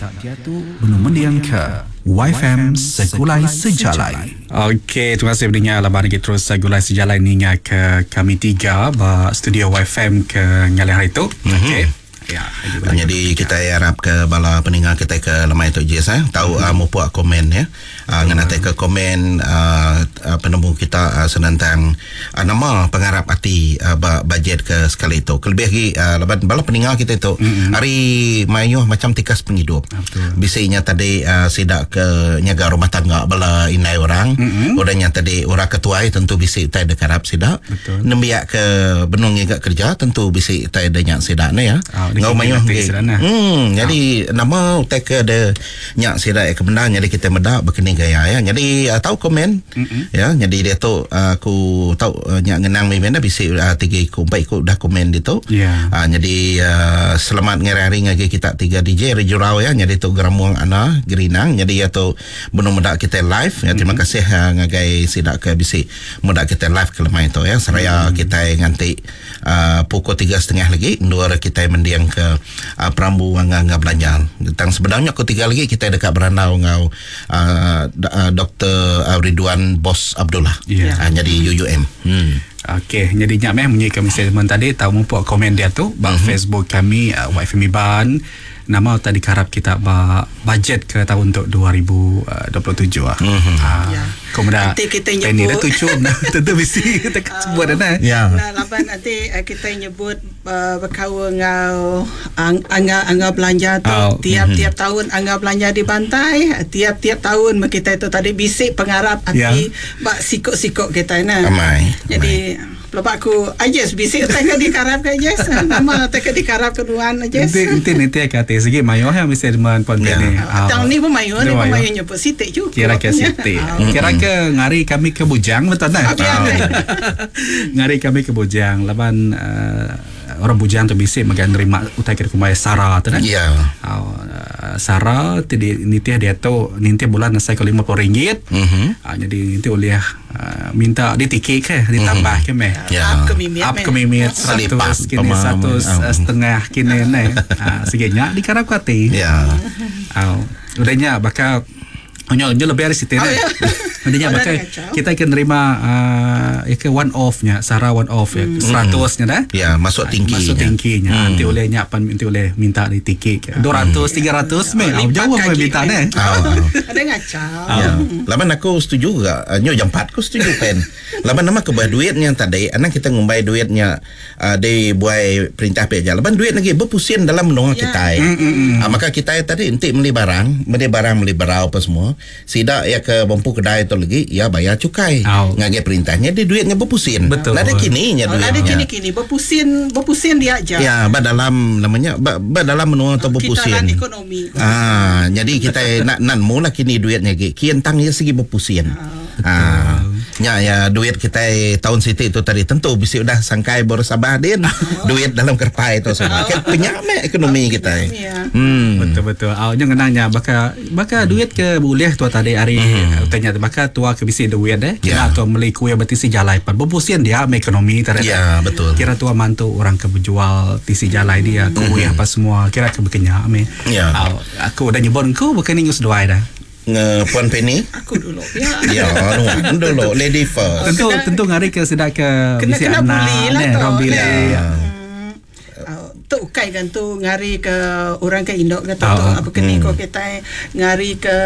Kita diatu benung mendingka YFM Segulai Sejalai. Okey, terima kasih pendengar laban agi terus Segulai Sejalai ninga ke kami tiga ba studio YFM ke ngalih hari tu. Okey. Ya, Jadi kita harap ke bala pendengar kita ke lemai tu Jis eh tahu mm-hmm. mupuk komen ya. Ngenatai ke komen penemu kita senentang nama pengarap ati ba bajet ke sekali tu. Kelebih lagi laban bala pendengar kita tu mm-hmm. hari mayuh macam tikas pengidup. Bisinya tadi sida ke nyaga rumah tangga bala indai orang. Mm-hmm. Udahnya tadi orang ketuai tentu bisi utai dekarap sida. Nembiak ke benung ngiga kerja tentu bisi utai da nya sida ne ya. Oh, Enggau mayuh agi. Hmm, jadi oh. nama utai ke ada nya sida ke bendar jadi kita meda bekeni gaya ya. Jadi uh, tau komen mm-hmm. ya. Jadi dia tu uh, aku tau uh, nya ngenang mimpi dah bisi tiga iku empat iku dah komen dia tu. Yeah. Jadi selamat ngarang hari ngagai kita tiga DJ Rejurau ya. Jadi tu Geramuang Ana Gerinang. Jadi ya tu benung meda kita live ya. Terima mm-hmm. kasih ngagai sida ke bisi meda kita live ke lemai tu ya seraya mm. kita nganti pukul 3.30 lagi endur kita mending ke perambu nganga belanja tentang sebenarnya pukul 3 lagi kita dekat berandau ngau Dr. Ridwan Bos Abdullah yeah. Jadi UUM. Okey, jadi nyak meh munyi kami statement tadi tau mupuk komen dia tu ba mm-hmm. Facebook kami YFM Iban. Nama tadi harap kita ba budget ke tahun untuk 2027 ah. Mm-hmm. Ya. Kau muda. Nanti kita Penny nyebut. dah tuju tentu bisi kita sebut dah nah. Ya. Nah, laban nanti kita nyebut berkaul ngau angga angga belanja tu Oh. tiap-tiap tahun angga belanja dibantai, tiap-tiap tahun kita itu tadi bisik pengarap ati Ya. bak sikok-sikok kita nah. Amai. Jadi lepas aku ajes bisik utai ke dikarap ke ajes nama utai ke dikarap ke duan ajes. Nanti nanti nanti kata segi mayo yang mesti deman pon Ya. ni. Tahun ni pun mayo ni Dia pun mayo. mayo nyebut sitik juga. Kira ke sitik. Kira ke ngari kami ke bujang betul tak? Ah, biar. Ngari kami ke bujang laban orang bujang tu bisik megan nerima utai ke kumai sara tu kan. Ya. Sara ti di nitih dia tu nitih bulan nasai ke RM50. Mhm. Jadi nanti oleh minta ditikik ke ditambah ke meh. Ya. Up ke mimit. Up ke mimit Selipat 100 kini pemam. 100 setengah kini ne. Segenya dikarap kati. Ya. Au. Udahnya bakal Nyo, nyo lebih dari situ Oh, ne. ya. Udahnya Oh, bakal dah kacau. kita akan nerima ya ke one off nya, sara one off ya, 100 nya dah. Ya, masuk tinggi. Masuk tingginya. Nanti oleh nya pan nanti oleh minta di tikik. 200 300 meh. Au, Lipat jauh meh kaki, minta meh. ne. Au, au. Ada ngacau. Ya. Laban aku setuju juga. Nyo jam 4 aku setuju pen. Laban nama ke bah duitnya tadi, anak kita ngumbai duitnya di buai perintah pihak jalan. Laban duit lagi berpusing dalam menua Ya. kita. Maka kita tadi entik beli barang, beli barang beli berau apa semua. Sidak ya ke bempu kedai tu lagi, ya bayar cukai. Au. Ngagai perintahnya dia duitnya berpusing. Betul. Nada kini nya Oh, duitnya. ada kini-kini berpusin berpusin dia aja. Ya, ba dalam namanya ba, ba dalam menua tu berpusing. Kitaran ekonomi. Jadi kita nak nan mula kini duitnya gi. Kian tang ya segi berpusing. Ah. Ya ya duit kita tahun siti itu tadi tentu bisi udah sangkai baru sabah din duit dalam kerpai itu semua. Kan penyame ekonomi kita. Ya. Betul betul. Au nya ngenangnya baka baka duit ke boleh tua tadi hari tanya baka tua ke bisi duit eh. Ya. Kira tua beli kuih bertisi jalai pan. Berpusin dia ame ekonomi tadi. Ya, betul. Kira tua mantu orang ke berjual tisi jalai dia kuih apa semua kira ke berkenya ame. Ya. Au, aku udah nyebut engkau bukan ni seduai dah. Nge Puan Penny. Aku dulu. Ya. Ya, nu dulu lady first. Tentu Kena- tentu ngari ke sedak ke Kena bisi kena anak bully lah ne, tu. orang bili. Ya. Tu ukai kan tu ngari ke orang ke indok ke tu, tu Ah, apa kini ko kita ngari ke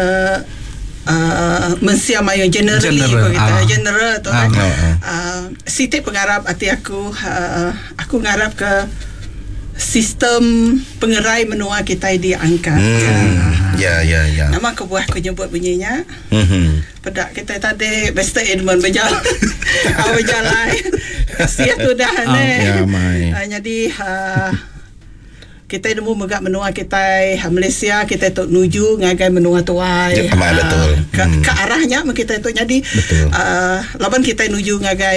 mensia mayo generally General, ko kita ah. general tu Ah. kan. Ah, ah. Sitik pengarap hati aku aku ngarap ke sistem pengerai menua kita diangkat. Ya ya ya. Nama kebuah aku nyebut bunyinya. Mhm. Pedak kita tadi Mr. Edmund berjalan ah, berjalan Kasih tu dah ne. ya, mai. Ah, jadi kita nemu megak menua kita Malaysia kita tu nuju ngagai menua tuai. Ya, amai, Ah, betul. Ke, ke arahnya kita tu jadi Betul. laban kita nuju ngagai